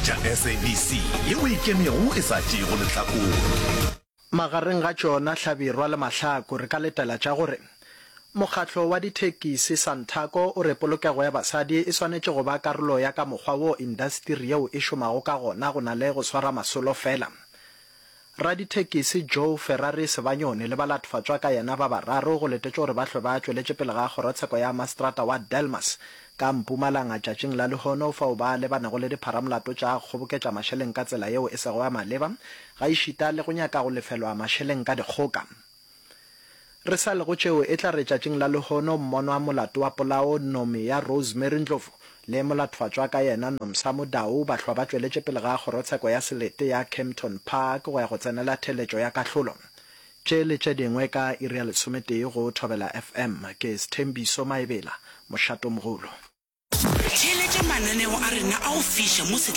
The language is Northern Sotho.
Theeletša SABC yeo e ikemego e sa tšeego lehlakore. Magareng ga tšona Hlabirwa le Mahlaku re ka letela tša gore Mokgatlo wa Dithekisi, Santaco, o re polokego ya basadi e swanetše go ba karolo ya ka mokgwa wo indasteri yeo e šomago ka gona go na le go swara masolo fela. Radithekisi Joe Ferrari Sebanyoni le balatfatswa ka yena ba bararo go letetšwe gore ba hlwe ba tšweletše pele ga kgorotsheko ya maseterata wa Delmas ka Mpumalanga tšatšing la lehono fao ba lebanego le dipharamolato tša kgoboketša mašeleng ka tsela yeo e sego ya maleba gaešita le go nyaka go lefelwa mašeleng ka dikgoka. Re sa le go tšeo, e tla re tšatšing la lehono mmonwa molato wa polao Nomia Rosemary Ndlovu le molathofatšwa ka yena Nomsa Mudau ba hlwa ba tšweletše pele ga kgorotsheko ya selete ya Kempton Park go ya go tsenela theeletšo ya kahlolo. Tše le tše dingwe ka iri ya lesometee go Thobela FM. Ke Sthembiso Maebela, Mošatomogolo. Theeletša mananeo a rena a go fiša mo.